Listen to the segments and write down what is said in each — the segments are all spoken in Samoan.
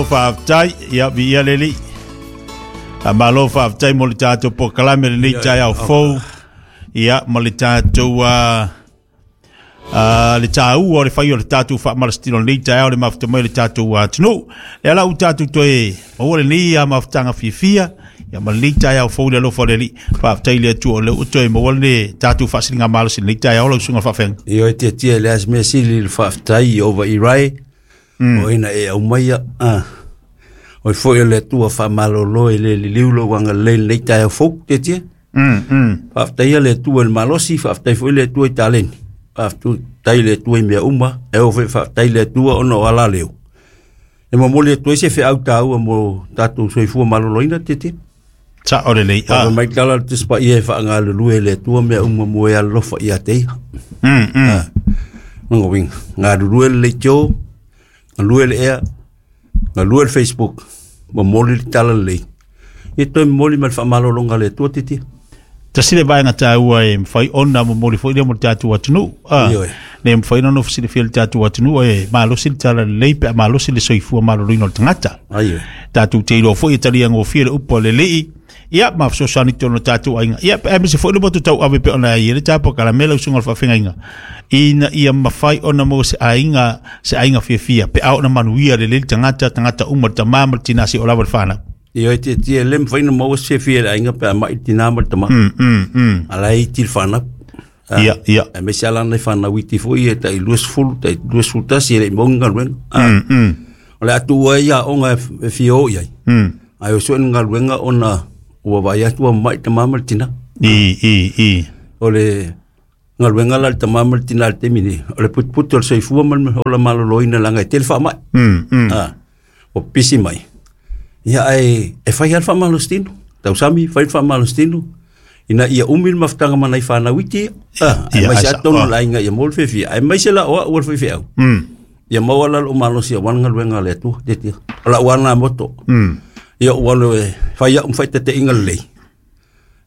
Faafetai, ia viia le Alii. Faamalo faafetai mo le tatou polokalame lenei taeao fou. Ia ma le tatou le taua o le fai o le tatou faamalositino lenei taeao le mafuta mai o le tatou atunuu. Lea la ua tatou toe maua lenei mafutaga fiafia ia ma lenei taeao fou i le alofa o le Alii. Faafetai i le Atua o lea ua toe maua le tatou faasiligamalosi i lenei taeao lau susuga i le faafeagaiga. Ioe tiatia le as mea sili i le faafetai i ova i rae. O ina e aumaia o foi o le Atua faamalolo e le liliu lou agalelei lenei taeao fou tiatia. Faafetai le Atua i le malosi, faafetai foi le Atua i taleni. Faafetai le Atua i mea uma, e oo foi faafetai le Atua ona o ala leo. E momoli atu ai se feau taua mo tatou soifua maloloina tiatia. Sao lelei. Fai mai tala le Tusi Paia e faagalulue e le Atua mea uma mo e alolofa ia te ia. Lona uiga, galulue le leitio, galue le ea, galue le Facebook, momoli le tala lelei. Ia toe momoli ma le faamalologa a le Atua tiatia. Tasi le vaega taua e mafai ona momoli foi lea mo le tatou atunuu. Ioe. Ne mafai ona nofo silafia le tatou atunuu e malosi le tala lelei pe a malosi le soifua maloloina o le tagata. Ai, Tatou te iloa foi e talia gofie le upu a le Alii. Ia, ma fesoasoani tonu o tatou aiga. Ia, pe aemaise foi le motu tauave pe ona ai le polokalame lau susuga i le faafeagaiga. Ina ia mafai ona maua se aiga, se aiga fiafia, pe a ona manuia lelei le tagata, tagata uma, le tama ma le tina seia oo lava i le fanau. Ioe tiatia e le mafai ona maua se fiafia i le aiga pe a mai le tina ma le tama. A la e iti le fanau. Ia, ia. Aemaise lava lana fanau iti foi ia tai 20, tai 21 e le i maua ni galuega. O le a tuua ai aoga e fia o i ai. Ae o sue ni galuega ona ua vaai atu ua mamai le tama ma le tina. I, i, i. O le galuega la a le tama ma le tina i le taimi nei, o le putuputu o le soifua ma le ola maloloina leaga e tele faamai. Ua pisi mai. Ia ae e fai lava le faamalositino. Tausami, fai le faamalositino ina ia umi le mafutaga ma nai fanau iti ia. Aemaise lava totonu o le aiga ia maua le fiafia, aemaise la o au o le faifeau. Ia maua la lou malosi aua le galuega a le Atua, tiatia. O lau lava lena motto. Ia ou alu e fai au ma faataitaiga lelei.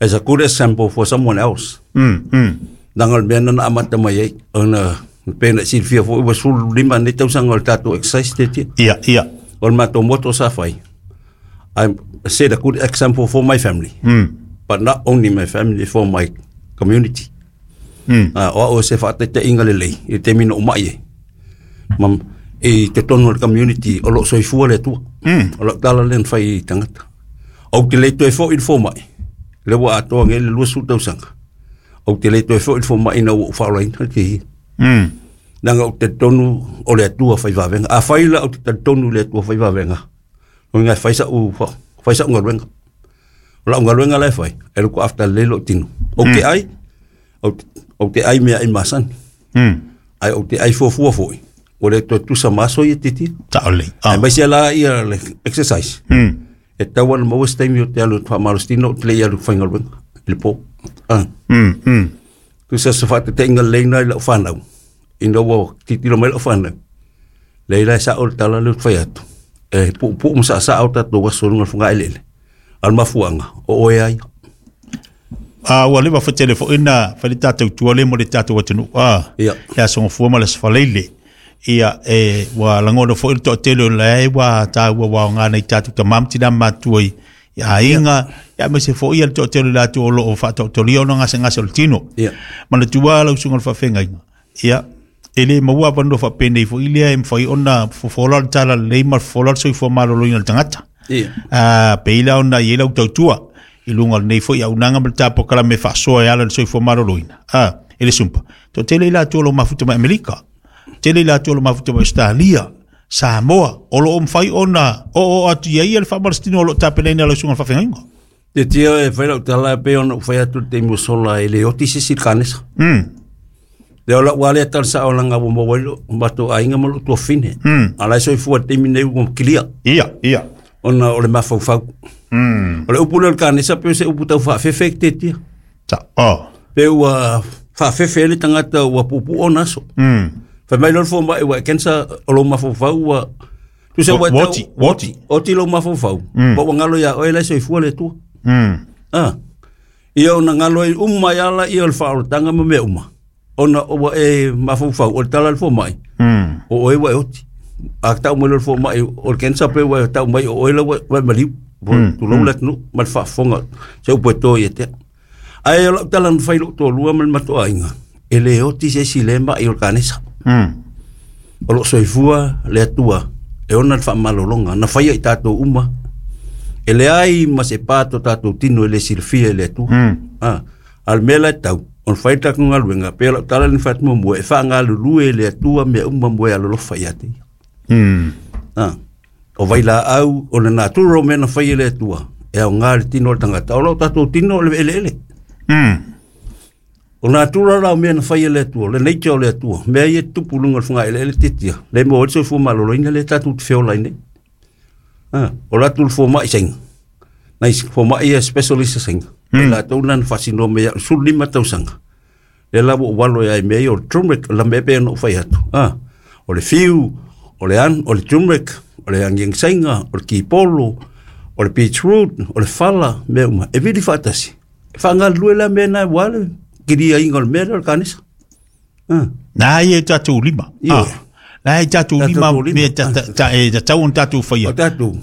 As a good example for someone else. Leaga o le mea lena na amata mai ai, ona pei ona e silafia foi ua 15 nei tausaga o le tatou exercise tiatia. Ia, ia. O le matou motto sa fai, I set a good example for my family. But not only my family, for my community. O au o se faataitaiga lelei i le taimi na ou mai ai. Ma, i totonu o le community o lo o soifua le Atua. O lau tala lea na fai i tagata. Ou te le toe foi i le fomai, lea ua atoa nei le 20 tausaga. Ou te le toe foi i le fomai ina ua ou faaolaina le te Leaga ou te talitonu o le Atua fai vavega. Afai la ou te talitonu i le Atua fai vavega, o lona uiga e fai sa'u, fai sa'u galuega. O lau galuega la e fai, e look after lelei lou tino. Ou te ai, ou te ai meaai masani. Ae ou te ai fuafua foi, ua le toe tusa ma aso ia titia. Sao lelei. Aemaise la ia le exercise. E tatau ona maua se taimi ou te alu faamalositino ou te le i alu faigaluega i le po. Tusa se faataitaiga lelei lena i lau fanau, ina ua tilotilo mai lau fanau, leai la e sao le tala lea ou te fai atu, e puupuu ma saasaa o tatou aso i luga o le fogaeleele. A o le mafuaaga, o oe lava ia. Ua leva foi tele foi na fai le tatou tua lea mo le tatou atunuu. Ia. Le Aso Gafua ma le Aso Faraile. Ia, e, ua lagona foi le toatele o la e ua taua ua aoga nai tatou tama ma tina matutua i aiga, ia aemaise foi ia le toatele o latou o lo o faataotolia ona gasegase o le tino. Ia. Manatua lau susuga i le faafeagaiga, ia, e le maua avanoa faapenei foi lea e mafai ona fofola le tala lelei ma fofola le soifua maloloina o le tagata. Ia. Pei la ona i ai lau tautua i luga o lenei foi auaunaga ma le ta polokalame e faasoa e ala i le soifua maloloina. E le sumpa. Toatele i latou o lo o mafuta mai Amerika, tele i latou o lo o mafuta mai Ausetalia, Samoa, o lo o mafai ona oo atu i ai le faamalositino o lo o tapenaina e lau susuga i le faafeagaiga. Tiatia e fai lau tala e pei ona ou fai atu i le taimi ua sola e le oti se isi i le kanesa. Lea o lau lava lea tala sao leaga ua maua ai lou matou aiga ma lou tuafafine. A o la e soifua i le taimi nei ua kilia. Ia, ia. Ona o le mafaufau. O le upu lea o le kanesa pei o se upu tau faafefe tiatia. Oh. Pe ua faafefe ai le tagata ua puupuu ona aso. Fai mai loa le fomai ua e cancer o lou mafaufau ua tusa ua e tau- Oti, oti. oti lou mafaufau. Ma ua galo ia oe la e soifua le Atua. Ia ona galo ai uma ai lava ia o le faaolataga ma mea uma. Ona ua e mafaufau o le tala a le fomai. O oe ua e oti. A tau mai le fomai o le cancer pe ua tau mai o oe la ua maliu. Tulou le atunuu ma le faafofoga se upu e to ia te. Ae o lau tala na fai lou toalua ma le matoaiga, e le oti se isi le mai o le kanesa. O loo soifua le Atua e ona le faamalologa na faia i tatou uma. E leai ma se pa to tatou tino e le silafia e le Atua. A le mea la e tau, ona fai le tatou galuega, pe o lau tala le fai atu muamua, e faagalulue e le Atua mea uma mo e alolofa ia te ia. O vailaau, o le natura o mea na fai e le Atua, e aoga le tino o le tagata. O lau tatou tino o le eleele. O natura la o mea na fai e le Atua, le nature o le Atua, mea ia tupu luga o le fagaeleele tiatia, le maua ai le soifua maloloina lea tatou te feola ai nei. O le atu le fomai saina, nai fomai ia specialist saina, mm. latou na faasinoa mai au 15 tausaga. Le la ua ou alo ai mea ia o le turmeric, la mea pe na ou fai atu. O le fiu, o le an, o le turmeric, o le angiangi saina, o le kipolo, o le beetroot, o le fala, mea uma. E vili faatasi. E faagalulue la mea na ua le kiliaiga o le mea lea o le kanesa. Na ia tatou lima. Na ia tatou lima me ta ta e ta tau on tatou faia. O tatou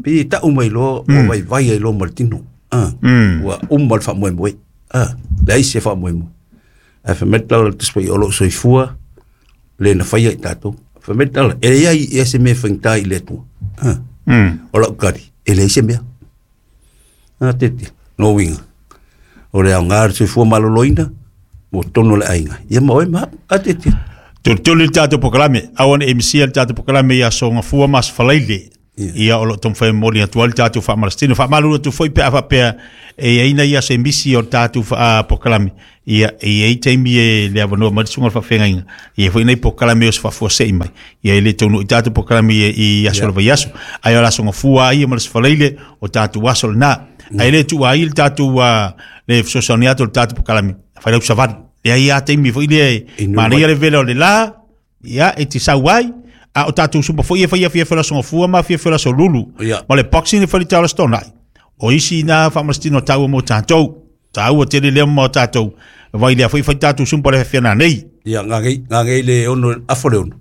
pe tau mai loa ua vaivai ai loa ma le tino. Ua uma le faamoemoe. Leai se faamoemoe. Ae fai mai le tala o le Tusi Paia o loo soifua le na faia i tatou. Fai mai le tala, e leai ia se mea e faigata i le Atua. O lau tali, e leai se mea. Tete, no uiga. O le aoga le soifua maloloina, mo totonu o le aiga. Ia ma oe ma au. Tete. Tolitoli le tatou polokalame, aua ne i misia le tatou polokalame i aso Gafua ma aso Faraile. Ia o loo taumafai e momoli atu ai le tatou faamalositino. Faamalulu atu foi pe a faapea e i ai nai aso e misi o le tatou polokalame. Ia e i ai taimi e le avanoa mai le susuga o le faafeagaiga. E i ai foi nai polokalame o se faafuasei mai. Ia e le taunuu i tatou polokalame i aso o le vaiaso. Ae o le aso Gafua ia ma le aso Faraile o tatou aso lena. Ae le tuua ai le tatou le fesoasoani atu o le tatou polokalame. Fai lau savali. Leai a taimi foi lea e manaia le vela o le la, ia e te sau ai. A o tatou sumpa foi e fai afiafi o le aso Gafua ma afiafi o le aso Lulu. Ma le boxing e fai le Charleston ai. O isi na faamalositino taua mo tatou. Taua tele lea mo tatou. Vai lea foi fai tatou sumpa le afiafi nei. Ia, ngagei le ono, afo le ono.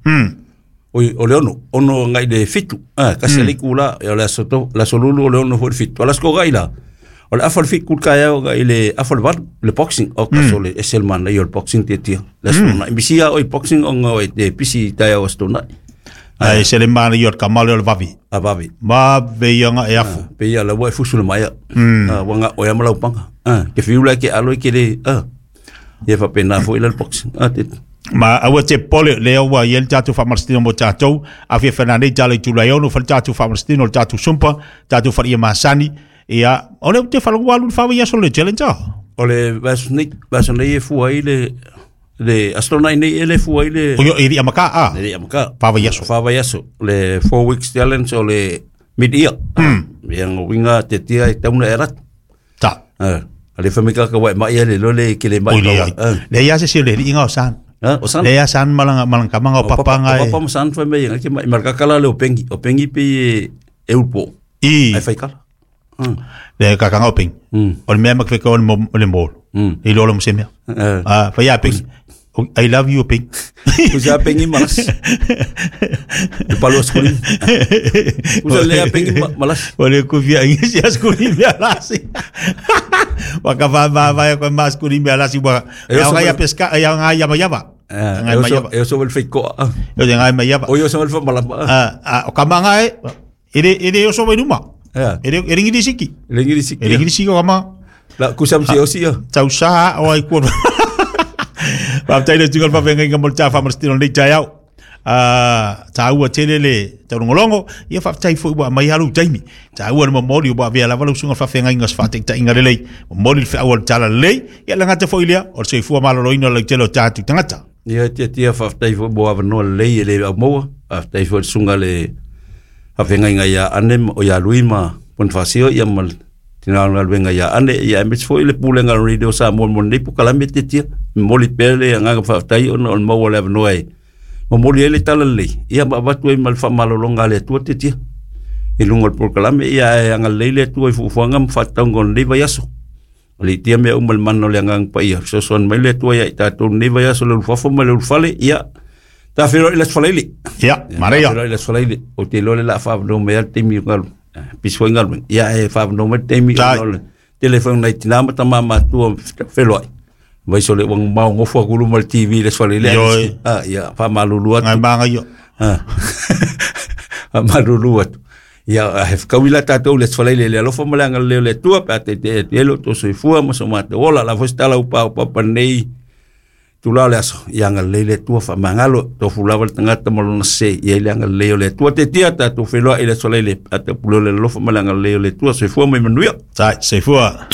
Oi, o le ono, ono ngai le 7. Kasi le kula, o le aso to, le aso Lulu o le ono foi le 7. O le aso ko gai la. O le afa le 7 ka ia ngai le afa le 8, le boxing. O kaso le SL man nei o le boxing te tia. Le aso na. Misia o i boxing o ngau e te pisi tai o aso na. Ai se le mana i o le kamale o le vavi. A vavi. Ma ve ia nga e afu. Pe ia la ua e fusu le maia. Ua nga o ia malau panga. Ke fiu la ke alo i ke le. Ia fa pena foi le boxing. Te. Ma aua te pole le ua i le tatou faamalositino mo tatou. Afiafi nei tala i tulai ono fai le tatou faamalositino le tatou sumpa, tatou falia masani. Ia, o le te whalangu alu le whawa i aso le challenge a. O le vaso nei, vaso nei e fua ai le le aso nei nei e le fua ai le O yo e ri amaka a. Le amaka. Whawa i aso. Whawa i aso. Le 4 weeks challenge o le mid year. Ia ngo winga te tia e tauna e ratu. Ta. A le whamika ka wai mai le lo le ke le mai. O le ai. Le ia se se le inga o san. O san. Le ia san malanga malanga kamanga o papa ngai. O papa mo san whai mai ke mai marka kala le o pengi. O pengi pe e upo. I. Ai whai kala. Le kakanga o pengi. O le mea makweka o le molo. I lolo mo se mea. Whai a pengi. I love you, Ping. Usa pengi malas. Le palo skuli. Usa le pengi malas. O le kufia ingi si askuli mea lasi. Waka va va va ko mas kuli mea lasi wa. Ya ngai pesca ya ngai ya mayava. Ngai mayava. Eu sou el feiko. Eu ngai mayava. O eu sou el malama. O kamanga e ere ere eu sou numa. Ere ere ngiri siki. Ere ngiri siki. Ere ngiri siki o kama. La kusam si osi ya. Tau sa o ai ku. Whaftai le tunga whawhenga mo le tā whamarastino nei tai au. Tāua tele le taurongolongo, ia whaftai fo ua mai halu taimi. Tāua le momoli ua vea lava lausunga whawhenga inga swhatek ta inga lelei. Momoli le whiaua le tala lelei. Ia langata fo ilea, o le soifua maloloina lau tele o tātu tangata. Ia tia tia whaftai fo mo awanoa lelei e le au maua. Whaftai fo le sunga le whawhenga inga ia ane o ia lui ma Bonifasio ia ma tina ngaluenga ia ane ia emets fo ile pulenga radio sa mo mo nei pokalame te tia moli pele anga whaftai ona o maua le awanoa e. Momoli ele tala lelei ia ma avatu ai ma le faamalologa a le Atua te tia i luga o le polokalame ia e agalelei le Atua i fuafuaga ma faatatauga o lenei vaiaso. O le itia mea uma le mana o le agaga paia fesoasoani mai le Atua ia i tatou lenei vaiaso le ulufafo ma le ulufale ia Ta feiloai i le Aso Faraile. Ia, manaia. Ta feiloai i le Aso Faraile. Ou te iloa o le a faaavanoa mai lava le taimi o galuega. Pisi foi galuega. Ia ae faaavanoa mai le taimi Sai. ona o le tele foi o nai tina ma tama matutua feloai. Vaisi o le ua mamao nofo atu i luma o le TV i le Aso Faraile. Ioe. Ah, ia faamalulu atu. Ngai magaio. Ah. Faamalulu atu. Ia, ae fetaui la tatou i le Aso Faraile i le alofa ma le agalelei o le Atua pe a taitaia atu ai lo outou soifua ma so matou ola. O le a foi se tala ua paopapa i lenei itula o le aso, ia agalelei le Atua, faamagalo, tofu lava le tagata ma lona sese, ia i le agalelei o le Atua. Taitia tatou feiloai i le Aso Faraile pe a taupule o le alofa ma le agalelei o le Atua. Soifua ma ia manuia. Sai, soifua.